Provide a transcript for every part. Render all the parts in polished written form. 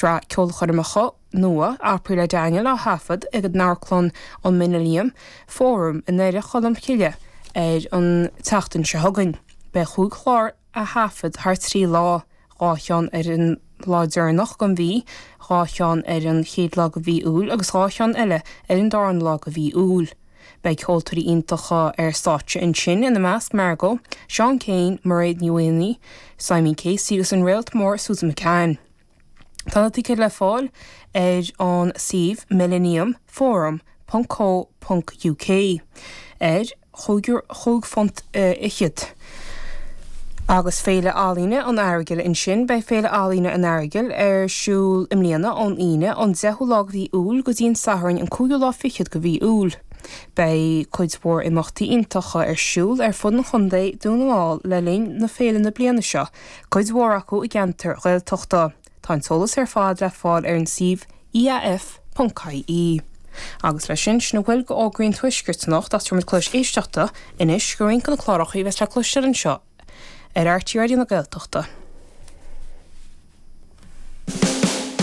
Sraith ceolchoirmeacha nua, April le Daniel, á thaifead ag an amharclann an Millennium Forum i nDoire Cholm Cille ar an tseachtain seo chugainn. Beidh chúig chlár á thaifead thar 3 lá, 2 cheann ar an lá deireanach den mhí, 2 cheann ar an chéad lá de mhí Iúil agus 2 cheann eile ar an darna lá de mhí Iúil. Beidh ceoltóirí iontacha ar stáitse ansin, ina measc Margot, Seán Keane, Mairéad Ní Mhaonaigh, Simon Casey agus an réalt mór Susan McCann. Tá na ticéid le fáil ar an suíomh millenniumforum ponc co ponc uk ar chúig phunt fhichead. Agus Féile Ealaíne an Earagail ansin, beidh Féile Ealaíne an Earagail ar siúl i mbliana ón Aoine an 10ú lá de mhí Iúil go dtí an Satharn an cúigiú lá fichead de mhí Iúil. Beidh cuid mhór imeachtaí iontacha ar siúl ar fud an chontae, Dún na nGall, le linn na féile na bliana seo, cuid mhór acu i gceantair Ghaeltachta. Tá an t-eolas ar fad le fáil ar an suíomh iaf.ie. Agus leis sin, sin a bhfuil de fhógraí an Tuaiscirt anocht ach tabharfaimid cluas éisteachta anois do roinnt de na cláracha a bheas le cloisteáil anseo ar RTÉ Raidió na Gaeltachta.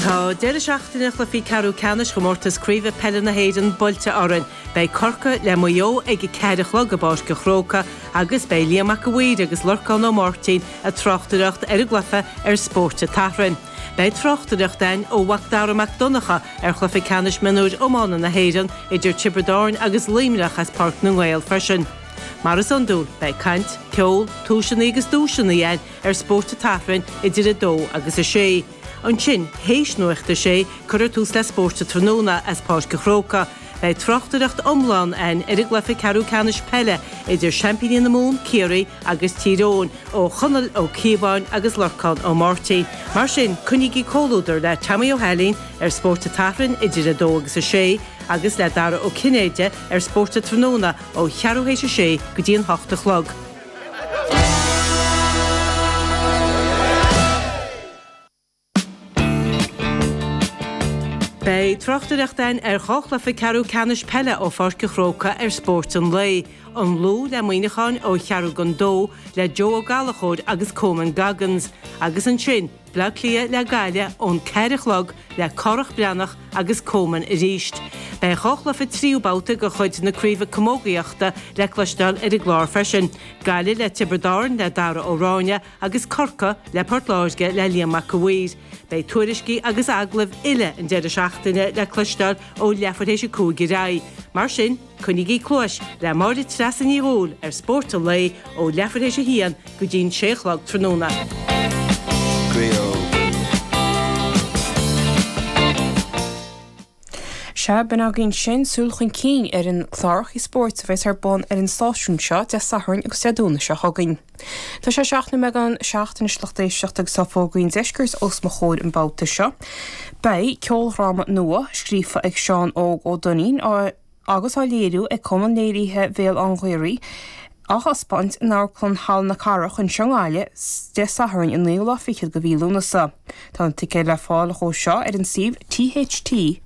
Tá deireadh seachtaine chluichí ceathrú ceannais Chomórtas Craoibhe Peile na hÉireann buailte orainn. Beidh Corcaigh le Maigh Eo ag a ceathair a chlog i bPáirc an Chrócaigh agus beidh Liam Mac a' Mhaoir agus Lorcán Ó Máirtín ag tráchtaireacht ar an gcluiche ar Spórt an tSathairn. Beidh tráchtaireacht againn ó Mhac Dara Mac Donncha ar chluiche ceannais mionúir iomána na hÉireann idir Tiobraid Árann agus Luimneach as Páirc na nGael freisin. Mar is iondúil, beidh caint, ceol, tomhaiseanna agus duaiseanna againn ar Spórt an tSathairn idir 2 agus 6. Ansin, théis Nuacht a Sé, cuirfear tús le Spórt an Tráthnóna as Páirc an Chrócaigh. Beidh tráchtaireacht iomlán againn ar an gcluiche ceathrú ceannais peile idir seaimpíní na Mumhan, Ciarraí, agus Tír Eoghain, ó Chonall Ó Cíobháin agus Lorcán Ó Máirtín. Mar sin, coinnígí comhluadar le Tommy Ó hAilín ar Spórt an tSathairn idir 2 agus 6 agus le Dara Ó Cinnéide ar Spórt an Tráthnóna ó cheathrú théis a sé go dtí an hocht a chlog. Beidh tráchtaireacht againn ar dhá chluiche ceathrú ceannais peile ó Pháirc an Chrócaigh ar Spórt an Lae, An Lú le Muineachán ó cheathrú don dó le Joe Ó Gallchóir agus Coman Goggins agus ansin Bleá Cliath le Gaillimh ón ceathair a chlog le Cárthach Breathnach agus Coman arís. Beidh dhá chluiche tríú babhta de chuid na Craoibhe Camógaíochta le cloisteáil ar an gclár freisin, Gaillimh le Tiobraid Árann le Dara Ó Ráinne agus Corcaigh le Port Láirge le Liam Mac a' Mhaoir. Beidh tuairiscí agus agallaimh uile an deireadh seachtaine le cloisteáil ó leathuair théis a cúig ar aghaidh. Mar sin, Coinnígí cluais le Máire Treasa Ní Dhubhghaill ar Spórt an Lae ó leathuair théis a haon go dtí'n sé a chlog tráthnóna. Sea, b'in againn sin súil chun cinn ar an clárachaí spóirt a bheas ar bun ar an stáisiún seo Dé Sathairn agus Dé Domhnaigh seo chugainn. Tá sé 7 nóiméad don 7 anois lucht éisteachta agus tá fógraí an deiscirt os mo chomhair an babhta seo. Beidh ceoldráma nua scríofa ag Seán Óg Ó Duinnín á agus á léiriú ag Cumann Léirithe Bhéal Átha an Ghaorthaidh, á thaispeáint in Amharclann Halla na Cathrach anseo i nGaillimh Dé Sathairn an naoú lá fichead de mhí Lúnasa. Tá na ticéid le fáil dhó seo ar an suíomh tht.ie.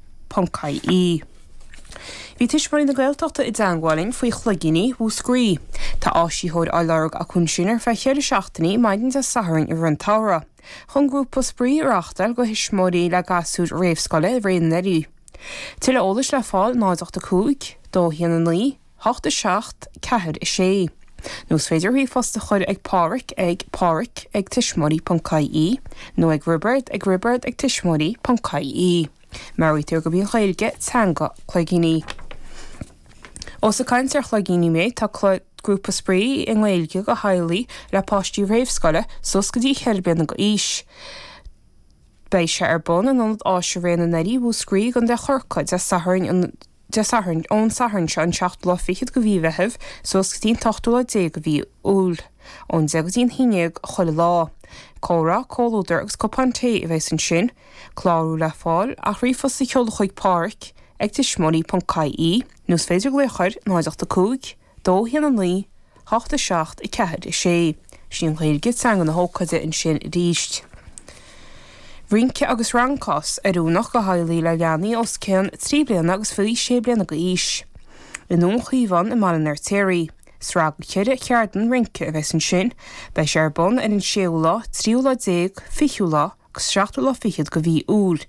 Bhí Tuismitheoirí na Gaeltachta i dteangmháil linn faoi chloigíní Mhúscraí. Tá áisitheoir á lorg acu ansin ar feadh cheithre seachtainí maidin Dé Sathairn i rith an tsamhraidh chun grúpa spraoi a reáchtáil do thuismitheoirí le gasúir réamhscoile i rith an earraigh. Tuilleadh eolais le fáil 0 8 5 2 1 9 8 7 4 6. Nó is féidir ríomhphost a chur ag Pádhraic ag pádraic ag tuismitheoirí.ie nó ag Roibeard ag roibeard ag tuismitheoirí.ie. Meabhraítear gurb í an Ghaeilge teanga cloigíní. Ós ag caint ar chloigíní mé, tá grúpa spraoi i nGaeilge do theaghlaigh le páistí réamhscoile suas go dtí cheithre bliana d'aois. Beidh sé ar bun in Ionad Áise Ré na nDoirí, Mhúscraí, i gContae Chorcaí, Dé Sathairn an Dé Sathairn, ón Satharn seo an seachtú lá fichead de mhí Mheithimh suas go dtí an t-ochtú lá déag de mhí Iúil, ón deich go dtí an haon déag chuile lá. Comhrá, comhluadar agus cupán tae a bheas ansin. Clárú le fáil ach ríomhphost a sheoladh chuig Pádhraic ag tuismitheoirí.ie nó is féidir glaoch ar 0 8 5 2 1 9 8 7 4 6. Sin an Ghaeilge, teanga na hócáide ansin arís. Rince agus Rancás, oiriúnach do theaghlaigh le leanaí os cionn 3 bliana agus faoi 6 bliana d'aois. I nDún Chíomháin i mBaile an Fheirtéaraigh. Sraith de cheithre cheardlann rince a bheas ansin. Beidh sé ar bun ar an séú lá, tríú lá déag, fichiú lá. agus seachtú lá fichead de mhí Iúil.